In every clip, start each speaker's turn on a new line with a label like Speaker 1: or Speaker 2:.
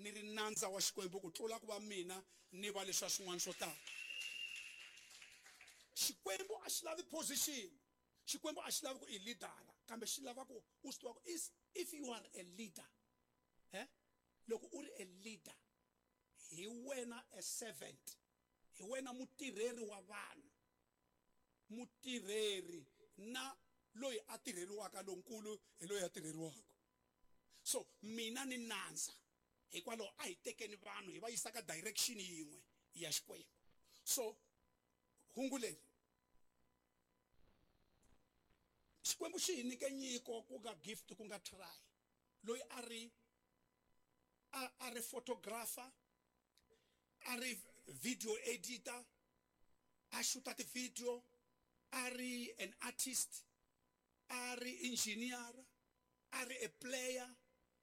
Speaker 1: ni ri nandza wa Xikwembu ku tlula ku va mina ni va leswa swin'wana swo tala. Xikwembu a xi lavi position, Xikwembu a xi lavi ku i leader, kambe xi lava ku u swi tiva ku if you are a leader, loko u ri a leader, hi wena a servant, hi wena mutirheri wa vanhu, mutirheri na loyi a tirheriwaka lonkulu hi loyi a tirheriwaka. So mina ni nandza, hikwalaho a hi tekeni vanhu hi va yisa ka direction yin'we ya Xikwembu. So hungu leri Xikwembu xi hi nyike nyiko ku nga gift ku nga try, loyi a ri a ri photographer, a ri video editor, a shoota ti-video, a ri an artist, a ri engineer, a ri a player,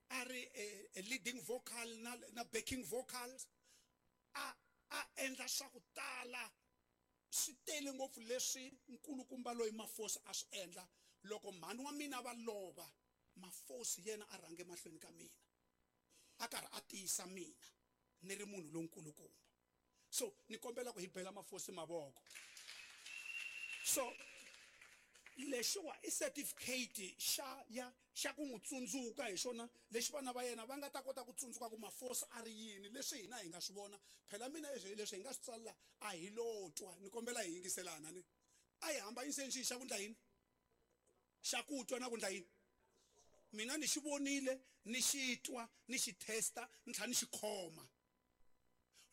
Speaker 1: a ri a leading vocal na backing vocals, a endla swa ku tala. Swi tele ngopfu leswi nkulukumba loyi Mafosi a swi endla. Loko mhani wa mina va lova, Mafosi yena a rhange mahlweni ka mina, a karhi a tiyisa mina ni ri munhu lonkulukumba. So ni kombela ku hi bela Mafosi mavoko. So lexiwa i certificate xa ya xa ku n'wi tsundzuka hi xona lexi vana va yena va nga ta kota ku tsundzuka ku Mafosi a ri yini, leswi hina hi nga swi vona. Phela mina leswi hi nga swi tsalela a hi lo twa, ni kombela hi yingiselana ni a hi hambanyiseni xi xa ku ndla yini, xa ku twa na ku ndla yini. Mina ni xi vonile, ni xi twa, ni xi testa, ni tlhela ni xi khoma.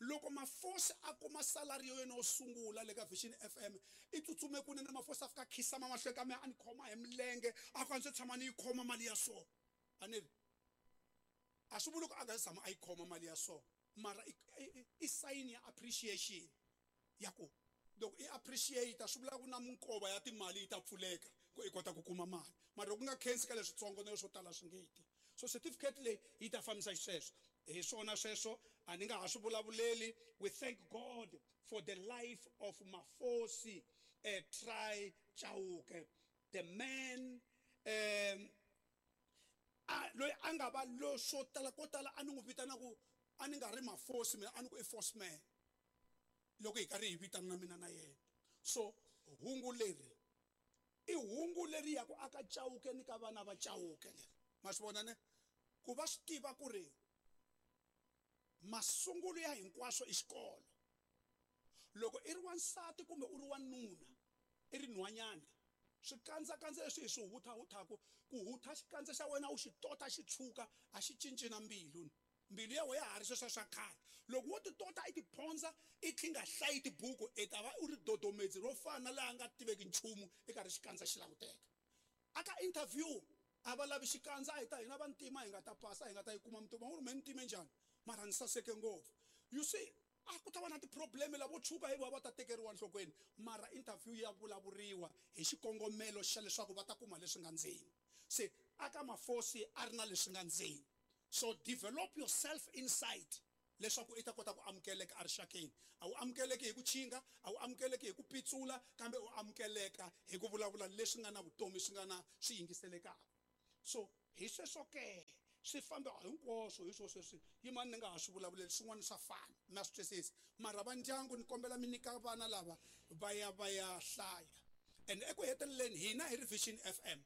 Speaker 1: Loko Mafosi a kuma salary ya yena yo sungula le ka Vision FM, i tsutsume kunene Mafosi a fika a khisama mahlweni ka mina, a ni khoma hi milenge, a ku a ndzi tshama ni yi khoma mali ya so. A ni ri a swi vuli ku a nga se tshama a yi khoma mali ya so, mara i sign ya appreciation ya ku loko i appreciate swi vula ku na minkova ya timali yi ta pfuleka ku i kota ku kuma mali, mara loko ku nga khensi ka leswitsongo na leswo tala swi nge ti. So certificate leyi yi ta fambisa xisweswo. Hi swona sweswo, a ni nga ha swi vulavuleli. We thank God for the life of Mafosi Try Chauke, the man loyi a nga va lo swo tala ko tala a ni n'wi vitana ku a ni nga ri Mafosi mina, a ni ku i Force man loko hi karhi hi vitana na mina na yena. So hungu leri i hungu leri ya ku aka Chauke ni ka vana va Chauke leri, ma swi vona ne ku va swi tiva ku ri masungulo ya hinkwaswo i xikolo. Loko i ri wansati kumbe u ri wanuna, i ri nhwanyana, swikandzakandza leswi hi swi hutha-huthaku, ku hutha xikandza xa wena u xi tota xi tshuka, a xi cinci na mbilu. Mbilu ya wena ya ha ri sweswiya swa khale. Loko wo ti tota i ti phondza i tlhi nga hlayi tibuku, i ta va u ri dodomedzi ro fana na laha nga tiveki nchumu, i karhi xikandza xi languteka. A ka interview a va lavi xikandza, a hi ta hina vantima hi nga ta pasa, hi nga ta yi kuma mintirho. Va ngo ri mehe ni time njhani? Mara ni saseke ngopfu. You see, a ku ta va na ti-problem lavo tshuka hi vona va ta tekeriwa enhlokweni, mara interview ya vulavuriwa hi xikongomelo xa leswaku va ta kuma leswi nga ndzeni. Se a ka Mafosi a ri na leswi nga ndzeni. So develop yourself inside leswaku i ta kota ku amukeleka erixakeni. A wu amukeleki hi ku chinga, a wu amukeleki hi ku pitsula, kambe u amukeleka hi ku vulavula leswi nga na vutomi, swi nga na swi yingiselekaka. So hi sweswo ke swi famba hinkwaswo hi swo sweswi, yimani ni nga ha swi vulavuleli swin'wana swa fana, na swi twisisa. Mara va ndyangu ni kombela mi nyika vana lava va ya va ya hlaya. And eku heteleleni hina hi ri Vision FM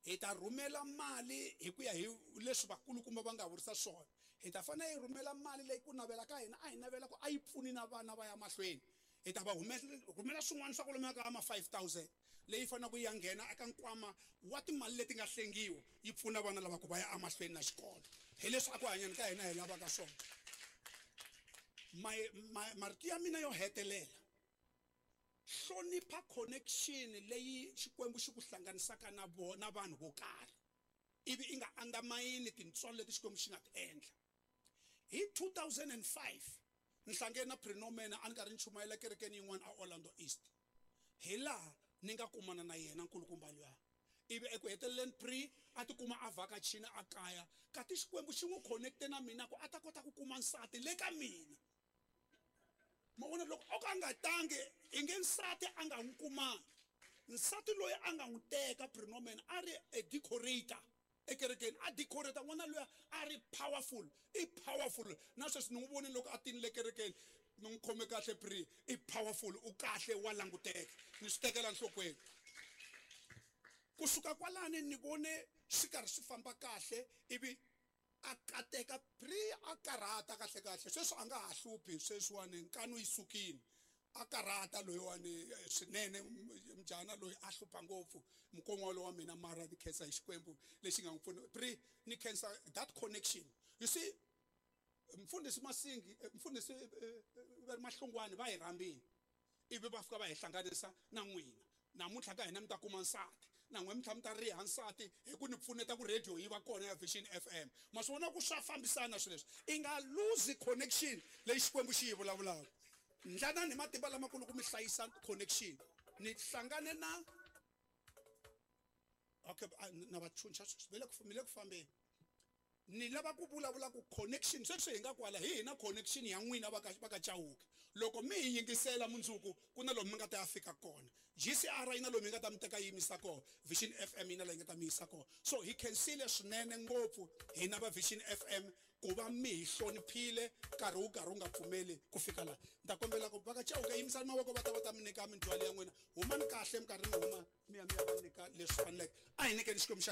Speaker 1: hi ta rhumela mali hi ku ya hi leswi vakulukumba va nga vurisa swona. Hi ta fanele hi rhumela mali leyi ku navela ka hina a hi navela ku a yi pfuni na vana va ya mahlweni. Hi ta va rhumela swin'wana swa kwalomuya ka ma 5000 leyi faneleke yi ya nghena eka nkwama wa timali leti nga hlengiwa yi pfuna vana lava ku va ya emahlweni na xikolo. Hi leswi a ku hanyeni ka hina hi lavaka swona. Marito ya mina yo hetelela, hlonipha connection leyi Xikwembu xi ku hlanganisaka na na vanhu vo karhi, ivi i nga undermine tintswalo leti Xikwembu xi nga ti endla. Hi 2005 ni hlangene na Prenomena a ni karhi ni chumayela kerekeni yin'wana a Orlando East, hi laha ni nga kumana na yena nkulukumba luya. Ivi eku heteleleni Pre a tikuma a vhakachini a kaya, kati Xikwembu xi n'wi connecte na mina ku a ta kota ku kuma nsati le ka mina. Ma vona, loko o ka a nga tangi i nge nsati a nga n'wi kumanga. Nsati loyi a nga n'wi teka Prenomena a ri a decorator. Ekerekeni a decorate n'wana luya a ri powerful, i powerful. Na sweswi ni n'wi vonile loko a tinile kerekeni, ni n'wi khome kahle pre, i powerful, u kahle, wa languteka, ni swi tekela nhlokweni. Kusuka kwalani ni vone swi karhi swi famba kahle, ivi a kateka pre, a karhata kahle kahle. Sweswi a nga ha hluphi, sweswiwani nkanu yi sukile, a karhata loyiwani swinene. Mujana loyi a hlupha ngopfu mukon'wana wa mina, mara ni khensa hi Xikwembu lexi nga n'wi pfuna. Pre, ni khensa that connection. You see, mfundhisi Masingi, mfundhisi va ri Mahlungwani va hi rhambile, ivi va fika va hi hlanganisa na n'wina. Namuntlha ka hina mi ta kuma nsati, na n'we mi tlhela mi ta riha nsati hi ku ni pfuneta ku radio yi va kona ya Vision FM. Ma swi vona ku swa fambisana swilo leswi, i nga lose connection leyi Xikwembu xi yi vulavulaka. Ndlanani hi matimba lamakulu ku mi hlayisa connection. Ni hlangane na okay, na va chuncha sweswi, mi le ku fambeni. Ni lava ku vulavula ku connection sweswi hi nga kwala hi hina connection ya n'wina va ka Chauke. Loko mi hi yingisela mundzuku ku na lomu mi nga ta ya fika kona. GCR yi na lomu yi nga ta mi teka yi yimisa kona, Vision FM yi na laha yi nga ta mi yisa kona. So hi khensile swinene ngopfu hina va Vision FM ku va mi hi hloniphile nkarhi wu karhi wu nga pfumeli ku fika laha. Ni ta kombela ku va ka Chauke yimisani mavoko, va ta va ta mi nyika mindzhwalo ya n'wina. Humani kahle minkarhi mi huma mi ya mi ya va nyika leswi faneleke. A hi nyikeni Xikwembu xa hina.